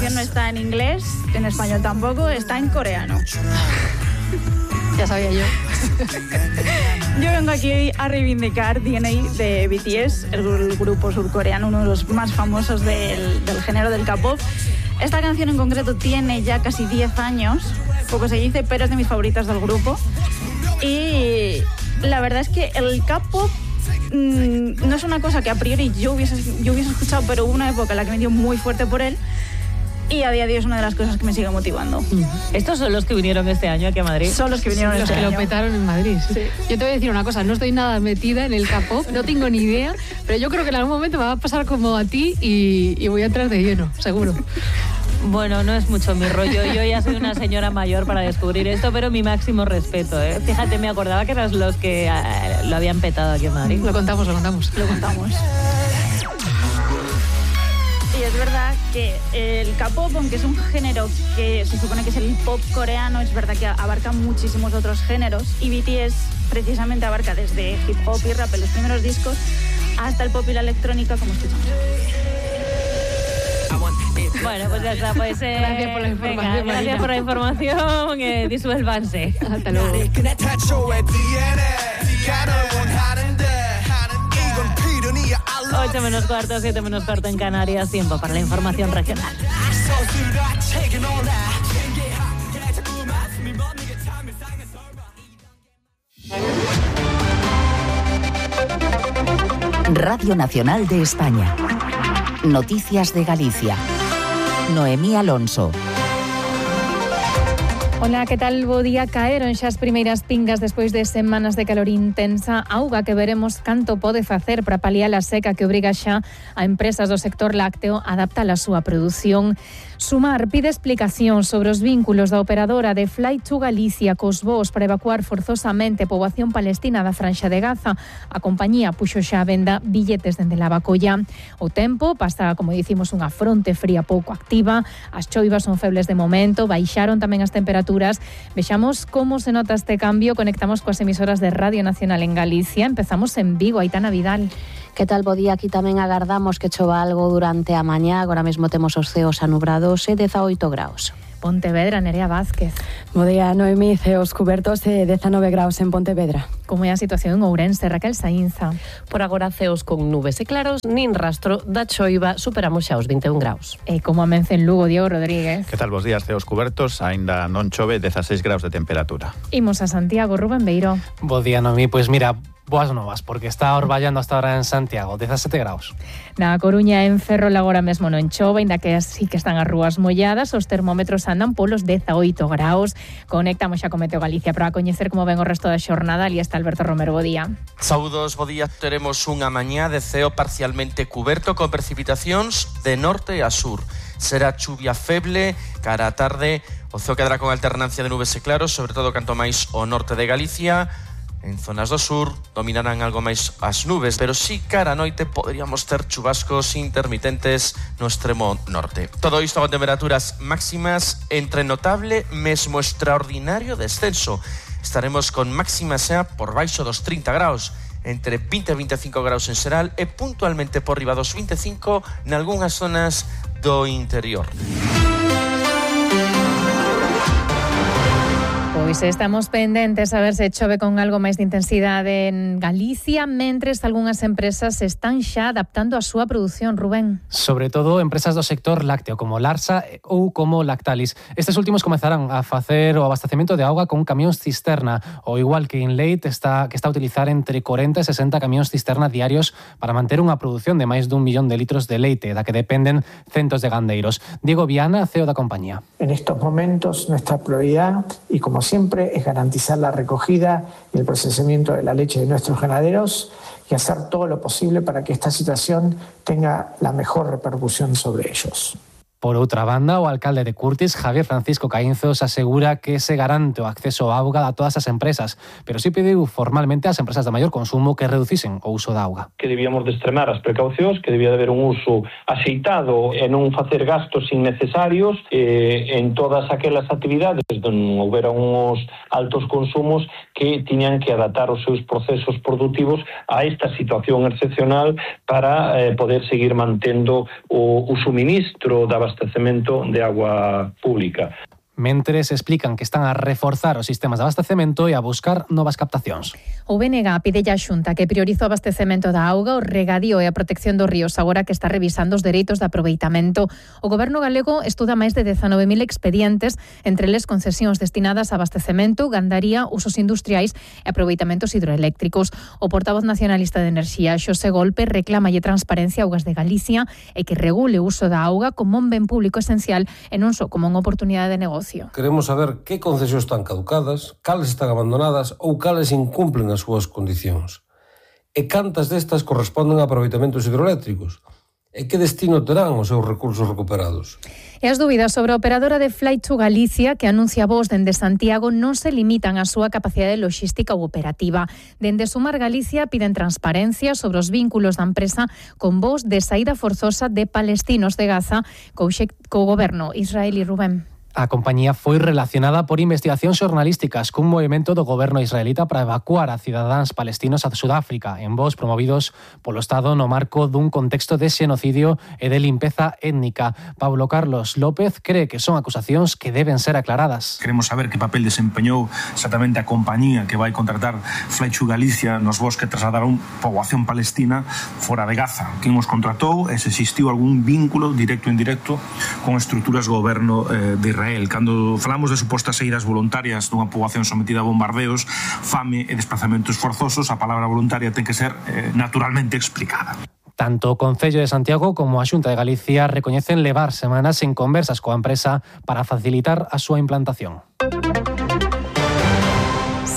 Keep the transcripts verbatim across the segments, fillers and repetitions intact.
canción no está en inglés, en español tampoco, está en coreano. Ya sabía yo. Yo vengo aquí a reivindicar D N A de B T S, el grupo surcoreano, uno de los más famosos del, del género del K-pop. Esta canción en concreto tiene ya casi diez años, poco se dice, pero es de mis favoritas del grupo. Y la verdad es que el K-pop mmm, no es una cosa que a priori yo hubiese, yo hubiese escuchado, pero hubo una época en la que me dio muy fuerte por él. Y a día de hoy es una de las cosas que me sigue motivando. ¿Estos son los que vinieron este año aquí a Madrid? Son los que vinieron sí, este año. Los que lo petaron en Madrid. Sí. Sí. Yo te voy a decir una cosa, no estoy nada metida en el K-pop, no tengo ni idea, pero yo creo que en algún momento me va a pasar como a ti y, y voy a entrar de lleno, seguro. Bueno, no es mucho mi rollo. Yo ya soy una señora mayor para descubrir esto, pero mi máximo respeto, ¿eh? Fíjate, me acordaba que eras los que eh, lo habían petado aquí en Madrid. Lo contamos, lo contamos. Lo contamos. Y es verdad que el K-pop, aunque es un género que se supone que es el pop coreano, es verdad que abarca muchísimos otros géneros. Y B T S precisamente abarca desde hip hop y rap en los primeros discos hasta el pop y la electrónica, como escuchamos. Bueno, pues ya está, pues eh, gracias por la información. Venga, gracias por la información, eh, disuélvanse. Hasta luego. ocho menos cuarto, siete menos cuarto en Canarias, tiempo para la información regional. Radio Nacional de España. Noticias de Galicia. Noemí Alonso. Ola, que tal? Bo día. Caeron xa as primeiras pingas despois de semanas de calor intensa, auga que veremos canto pode facer para paliar a seca que obriga xa a empresas do sector lácteo a adaptar a súa produción. Sumar pide explicación sobre os vínculos da operadora de Flight to Galicia cos voos para evacuar forzosamente a poboación palestina da Franxa de Gaza. A compañía puxo xa a venda billetes dende Lavacolla. O tempo pasa, como dicimos, unha fronte fría pouco activa. As choivas son febles de momento, baixaron tamén as temperaturas. Vexamos como se nota este cambio. Conectamos coas emisoras de Radio Nacional en Galicia. Empezamos en Vigo, Aitana Vidal. Que tal, bo día? Aquí tamén agardamos que chova algo durante a mañá. Agora mesmo temos os ceos anubrados e dezaoito graus. Pontevedra, Nerea Vázquez. Bo día, Noemí, ceos cubertos e dezanove graus en Pontevedra. Como é a situación en Ourense, Raquel Saínza? Por agora ceos con nubes e claros, nin rastro da choiva, superamos xa os vinte e un graus. E como amence en Lugo, Diego Rodríguez? Que tal, bos días, ceos cubertos, aínda non chove, dezaseis graus de temperatura. Imos a Santiago, Rubén Beiro. Bo día, Noemí, pois mira, boas novas, porque está orballando hasta ahora en Santiago, dezasete graus. Na Coruña, en Ferrol, agora mesmo non chove, ainda que así que están as rúas molladas, os termómetros andan polos dezaoito graus. Conectamos xa con Meteo Galicia para coñecer como ven o resto da xornada. Ali está Alberto Romero, bo día. Saúdos, bo día. Teremos unha mañá de ceo parcialmente cuberto con precipitacións de norte a sur. Será chuvia feble cara a tarde, o ceo quedará con alternancia de nubes e claros, sobre todo canto máis o norte de Galicia. En zonas do sur dominarán algo máis as nubes, pero sí cara a noite poderíamos ter chubascos intermitentes no extremo norte. Todo isto con temperaturas máximas entre notable mesmo extraordinario descenso. Estaremos con máximas xa por baixo dos trinta graus, entre vinte e vinte e cinco graus en xeral e puntualmente por riba dos vinte e cinco nalgúnas zonas do interior. Pois estamos pendentes a ver se chove con algo máis de intensidade en Galicia, mentres algunhas empresas están xa adaptando a súa produción, Rubén. Sobre todo empresas do sector lácteo, como Larsa ou como Lactalis. Estes últimos comezarán a facer o abastecemento de auga con camións cisterna, ou igual que Inleit está, que está a utilizar entre corenta e sesenta camións cisterna diarios para manter unha produción de máis dun millón de litros de leite, da que dependen centos de gandeiros. Diego Viana, C E O da compañía. En estos momentos nuestra prioridad, y como siempre, es garantizar la recogida y el procesamiento de la leche de nuestros ganaderos y hacer todo lo posible para que esta situación tenga la mejor repercusión sobre ellos. Por outra banda, o alcalde de Curtis, Javier Francisco Caínzos, asegura que se garante o acceso á auga a todas as empresas, pero sí pediu formalmente ás empresas de maior consumo que reducisen o uso da auga. Que debíamos de extremar as precaucións, que debía de haber un uso axeitado e non facer gastos innecesarios eh, en todas aquelas actividades onde non houbera uns altos consumos que tiñan que adaptar os seus procesos productivos a esta situación excepcional para eh, poder seguir mantendo o, o suministro da abastecemento de agua pública. Mentres explican que están a reforzar os sistemas de abastecemento e a buscar novas captacións. O B N G pide a Xunta que priorice o abastecemento da auga, o regadío e a protección dos ríos agora que está revisando os dereitos de aproveitamento. O Goberno galego estuda máis de dezanove mil expedientes, entre les concesións destinadas a abastecemento, gandaría, usos industriais e aproveitamentos hidroeléctricos. O portavoz nacionalista de Enerxía, Xosé Golpe, reclamalle transparencia a Augas de Galicia e que regule o uso da auga como un ben público esencial e non só como unha oportunidade de negocio. Queremos saber que concesións están caducadas, cales están abandonadas ou cales incumplen as súas condicións. E cantas destas corresponden a aproveitamentos hidroeléctricos. E que destino terán os seus recursos recuperados? E as dúbidas sobre a operadora de Flight to Galicia, que anuncia voos dende Santiago, non se limitan á súa capacidade logística ou operativa. Dende Sumar Galicia piden transparencia sobre os vínculos da empresa con voos de saída forzosa de palestinos de Gaza co, co goberno israelí. Rubén. A compañía foi relacionada por investigacións xornalísticas cun movimento do goberno israelita para evacuar a cidadáns palestinos a Sudáfrica en voos promovidos polo Estado no marco dun contexto de xenocidio e de limpeza étnica. Pablo Carlos López cree que son acusacións que deben ser aclaradas. Queremos saber que papel desempeñou exactamente a compañía que vai contratar Flight to Galicia nos voos que trasladaron poboación palestina fora de Gaza. Quen os contratou e se existiu algún vínculo directo ou indirecto con estruturas do goberno eh, de Israel. Cando falamos de supostas saídas voluntarias dunha poboación sometida a bombardeos, fame e desplazamentos forzosos, a palabra voluntaria ten que ser eh, naturalmente explicada. Tanto o Concello de Santiago como a Xunta de Galicia recoñecen levar semanas en conversas coa empresa para facilitar a súa implantación.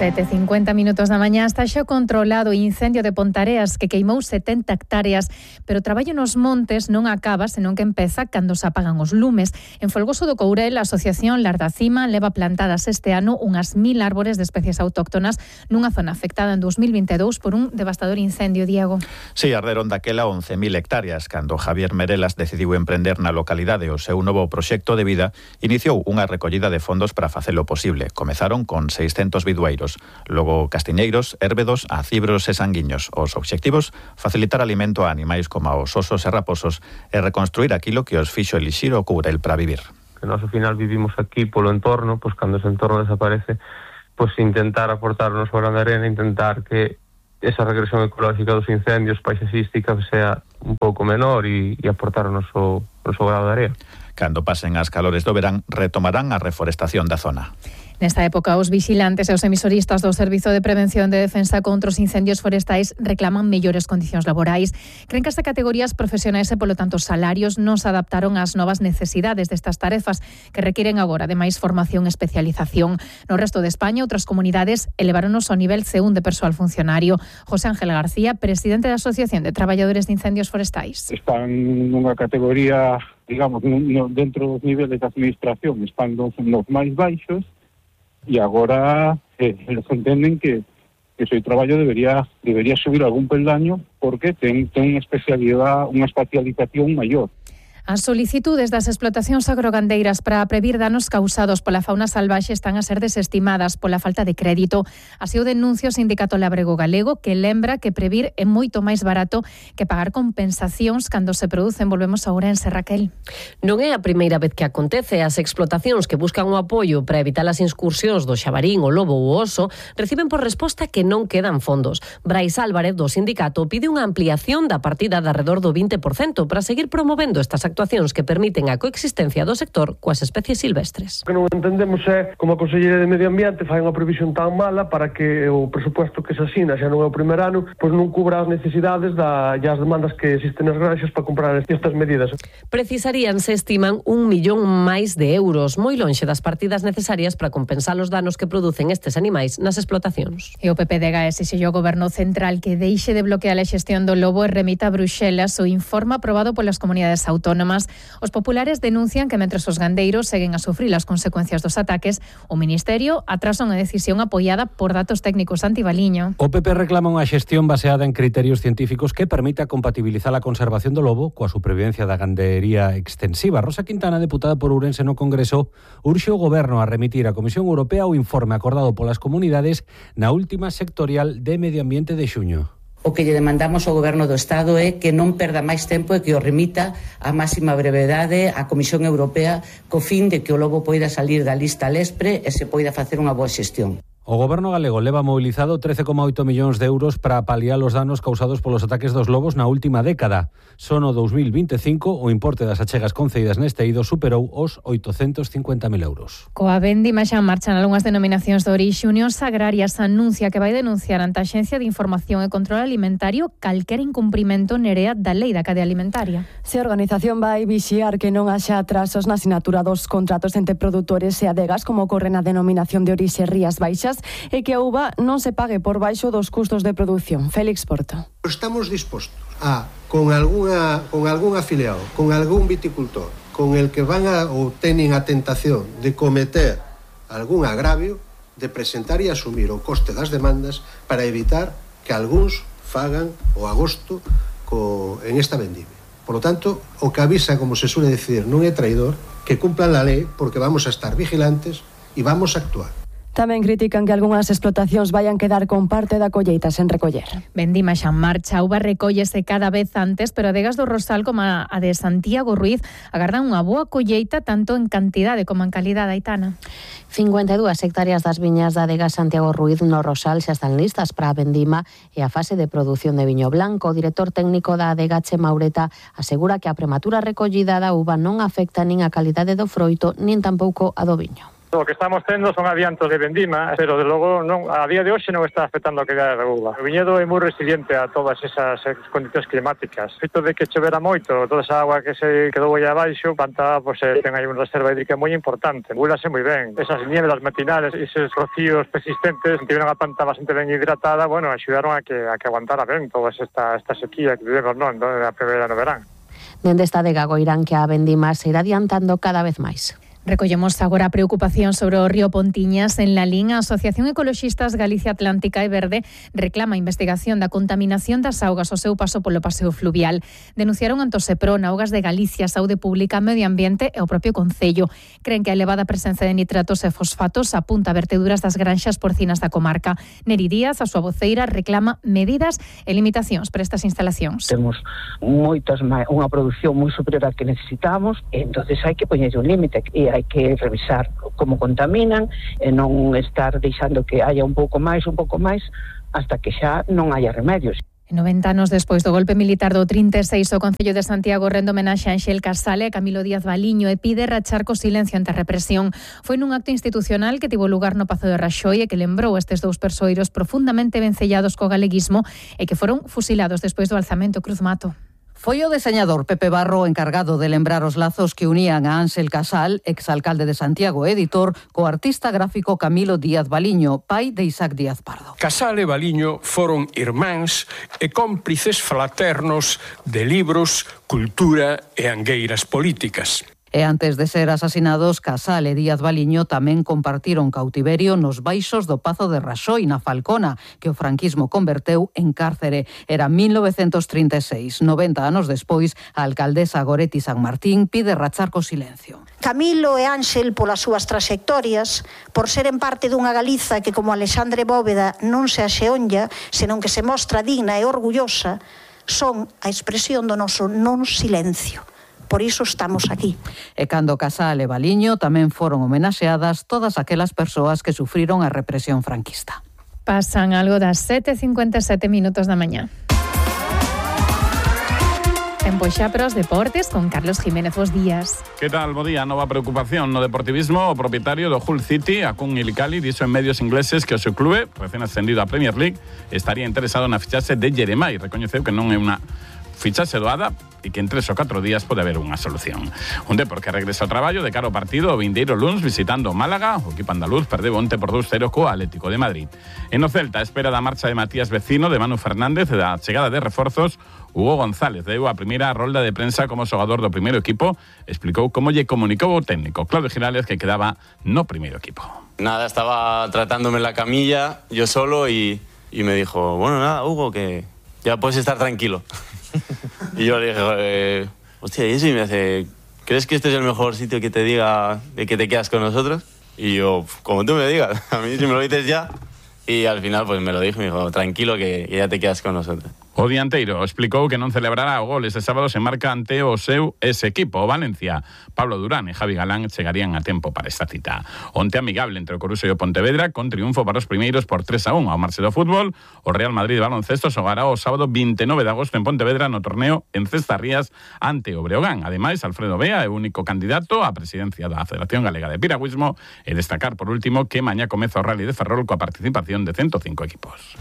sete e cincuenta minutos da mañá está xa controlado o incendio de Pontareas que queimou setenta hectáreas, pero o traballo nos montes non acaba senón que empeza cando se apagan os lumes. En Folgoso do Courel, a Asociación Lar da Cima leva plantadas este ano unhas mil árbores de especies autóctonas nunha zona afectada en dos mil vinte e dous por un devastador incendio, Diego. Sí, arderon daquela once mil hectáreas cando Javier Merelas decidiu emprender na localidade o seu novo proxecto de vida. Iniciou unha recollida de fondos para facelo posible. Comezaron con seiscentos bidueiros. Logo castiñeiros, érbedos, acibros e sanguiños. Os obxectivos, facilitar alimento a animais como os osos e raposos e reconstruir aquilo que os fixo elixir o Courel para vivir. Que nós ao final vivimos aquí polo entorno, pois cando ese entorno desaparece, pois intentar aportar o noso grano de arena, intentar que esa regresión ecológica dos incendios paisaxística sea un pouco menor e, e aportar o noso, o noso grano de arena. Cando pasen as calores do verán, retomarán a reforestación da zona. Nesta época, os vixilantes e os emisoristas do Servizo de Prevención de Defensa contra os Incendios Forestais reclaman mellores condicións laborais. Creen que as categorías profesionais e, polo tanto, salarios non se adaptaron ás novas necesidades destas tarefas que requiren agora de máis formación e especialización. No resto de España, outras comunidades eleváronos ao nivel C un de persoal funcionario. José Ángel García, presidente da Asociación de Traballadores de Incendios Forestais. Están nunha categoría, digamos, dentro dos niveles de administración, están nos máis baixos, e agora eh, eles entenden que, que o seu traballo debería debería subir algún peldaño porque ten, ten unha especialidade, unha especialización maior. As solicitudes das explotacións agrogandeiras para previr danos causados pola fauna salvaxe están a ser desestimadas pola falta de crédito. Así o denuncia o Sindicato Labrego Galego, que lembra que previr é moito máis barato que pagar compensacións cando se producen. Volvemos a Ourense, Raquel. Non é a primeira vez que acontece. As explotacións que buscan o apoio para evitar as incursións do xabarín, o lobo ou o oso reciben por resposta que non quedan fondos. Brais Álvarez, do sindicato, pide unha ampliación da partida de alrededor do vinte por cento para seguir promovendo estas actuacións que permiten a coexistencia do sector coas especies silvestres. O que non entendemos é como a Consellería de Medio Ambiente fai unha previsión tan mala para que o presupuesto que se asina xa non é o primer ano, pois non cubra as necesidades da, e as demandas que existen nas granxas para comprar estas medidas. Precisarían, se estiman, un millón máis de euros, moi lonxe das partidas necesarias para compensar os danos que producen estes animais nas explotacións. E o P P D G exixeu ao Goberno Central que deixe de bloquear a xestión do lobo e remita a Bruxelas o informe aprobado polas comunidades autónomas. Os populares denuncian que mentres os gandeiros seguen a sufrir as consecuencias dos ataques, o Ministerio atrasa unha decisión apoiada por datos técnicos. Antibaliño. O P P reclama unha xestión baseada en criterios científicos que permita compatibilizar a conservación do lobo coa supervivencia da gandería extensiva. Rosa Quintana, deputada por Ourense no Congreso, urxe o Goberno a remitir á Comisión Europea o informe acordado polas comunidades na última sectorial de Medio Ambiente de xuño. O que lle demandamos ao Goberno do Estado é que non perda máis tempo e que o remita a máxima brevedade á Comisión Europea co fin de que o lobo poida salir da lista Lespre e se poida facer unha boa xestión. O Goberno galego leva mobilizado trece coma oito millóns de euros para paliar os danos causados polos ataques dos lobos na última década. Son o dos mil veinticinco o importe das achegas concedidas neste eido superou os oitocentos cincuenta mil euros. Coa vendima xa marchan algunhas denominacións de orixe. Unión Agrarias anuncia que vai denunciar ante a Axencia de Información e Control Alimentario calquer incumprimento nerea da Lei da Cadea Alimentaria. Se a organización vai vixiar que non haxa atrasos na asinatura dos contratos entre produtores e adegas, como ocorre na denominación de orixe Rías Baixas, e que a uva non se pague por baixo dos custos de produción. Félix Porto. Estamos dispostos a, con alguna, con algún afiliado, con algún viticultor, con el que van a ou teñen a tentación de cometer algún agravio, de presentar e asumir o coste das demandas para evitar que algúns fagan o agosto co, en esta vendimia. Por lo tanto, o que avisa, como se suele decir, non é traidor, que cumplan la lei, porque vamos a estar vigilantes e vamos a actuar. Tamén critican que algunhas explotacións vayan quedar con parte da colleita sen recoller. Vendima xa en marcha, a uva recóllese cada vez antes, pero adegas do Rosal como a de Santiago Ruiz agardan unha boa colleita tanto en cantidade como en calidade, Aitana. cincuenta e dúas hectáreas das viñas da adega Santiago Ruiz no Rosal xa están listas para a vendima e a fase de produción de viño blanco. O director técnico da adega, Chema Ureta, asegura que a prematura recollida da uva non afecta nin a calidade do froito, nin tampouco a do viño. O que estamos tendo son adiantos de vendima, pero de logo non, a día de hoxe non está afectando a calidade da uva. O viñedo é moi resiliente a todas esas condicións climáticas. O feito de que chovera moito, toda esa agua que se quedou aí abaixo, panta, pues, ten aí unha reserva hídrica moi importante. Búlase moi ben. Esas nieves matinales, esos rocíos persistentes, tiveron a planta bastante ben hidratada, bueno, axudaron a que, a que aguantara ben toda esta, esta sequía que vivemos, non, na primavera no verán. Dende esta adega goirán que a vendima se irá adiantando cada vez máis. Recollemos agora a preocupación sobre o río Pontiñas. En Lalín, a Asociación Ecoloxistas Galicia Atlántica e Verde reclama a investigación da contaminación das augas ao seu paso polo paseo fluvial. Denunciaron ante o Seprona, Augas de Galicia, Saúde Pública, Medio Ambiente e o propio Concello. Creen que a elevada presenza de nitratos e fosfatos apunta a verteduras das granxas porcinas da comarca. Neri Díaz, a súa voceira, reclama medidas e limitacións para estas instalacións. Temos moitas máis, unha produción moi superior a que necesitamos, e entonces hai que poñer un límite e hai que revisar como contaminan e non estar deixando que haya un pouco máis, un pouco máis, hasta que xa non haya remedios. noventa anos despois do golpe militar do trinta e seis, o Concello de Santiago rende homenaxe a Anxel Casale e a Camilo Díaz Baliño e pide rachar co silencio ante a represión. Foi nun acto institucional que tivo lugar no Pazo de Raxoi e que lembrou estes dous persoeiros profundamente vencellados co galeguismo e que foron fusilados despois do alzamento Cruz Mato. Foi o deseñador Pepe Barro encargado de lembrar os lazos que unían a Ángel Casal, exalcalde de Santiago e editor, co artista gráfico Camilo Díaz Baliño, pai de Isaac Díaz Pardo. Casal e Baliño foron irmáns e cómplices fraternos de libros, cultura e angueiras políticas. E antes de ser asasinados, Casal e Díaz Baliño tamén compartiron cautiverio nos baixos do Pazo de Raxoi, na Falcona, que o franquismo converteu en cárcere. Era mil novecentos trinta e seis. noventa anos despois, a alcaldesa Goretti San Martín pide rachar co silencio. Camilo e Ángel, polas súas traxectorias, por seren parte dunha Galiza que, como Alexandre Bóveda, non se axeonlla, senón que se mostra digna e orgullosa, son a expresión do noso non silencio. Por iso estamos aquí. E cando Casal e Baliño tamén foron homenaxeadas todas aquelas persoas que sufriron a represión franquista. Pasan algo das sete e cincuenta e sete minutos da mañá. Tempo xa para os deportes con Carlos Jiménez. Bos días. Que tal, bo día? Nova preocupación no deportivismo. O propietario do Hull City, Akun Ilikali, dixo en medios ingleses que o seu clube, recén ascendido á Premier League, estaría interesado na fichaxe de Jeremai. Recoñeceu que non é unha fichaxe doada e que en tres ou catro días pode haber unha solución. Un Depor que regresa ao traballo de cara ao partido o vindeiro luns visitando o Málaga. O equipo andaluz perdeu onte por dous cero co Atlético de Madrid. E no Celta, a espera da marcha de Matías Vecino, de Manu Fernández e da chegada de reforzos, Hugo González deu a primeira rolda de prensa como xogador do primeiro equipo. Explicou como lle comunicou o técnico Claudio Girales que quedaba no primeiro equipo. Nada, estaba tratándome en la camilla yo solo y, y me dijo, bueno, nada, Hugo, que ya puedes estar tranquilo. Y yo le dije, eh, hostia, y eso, y me hace, ¿crees que este es el mejor sitio que te diga de que te quedas con nosotros? Y yo, como tú me digas, a mí si me lo dices ya. Y al final pues me lo dijo y me dijo, tranquilo que, que ya te quedas con nosotros. O dianteiro explicou que non celebrará o gol ese sábado se marca ante o seu ese equipo, o Valencia. Pablo Durán e Javi Galán chegarían a tempo para esta cita. Onte amigable entre o Coruxo e o Pontevedra, con triunfo para os primeiros por tres a un ao marxe do fútbol. O Real Madrid de baloncesto xogará o sábado vinte e nove de agosto en Pontevedra no torneo en Cestarrías ante o Breogán. Ademais, Alfredo Bea é o único candidato á presidencia da Federación Galega de Piragüismo e destacar por último que mañá comeza o Rally de Ferrol coa participación de ciento cinco equipos.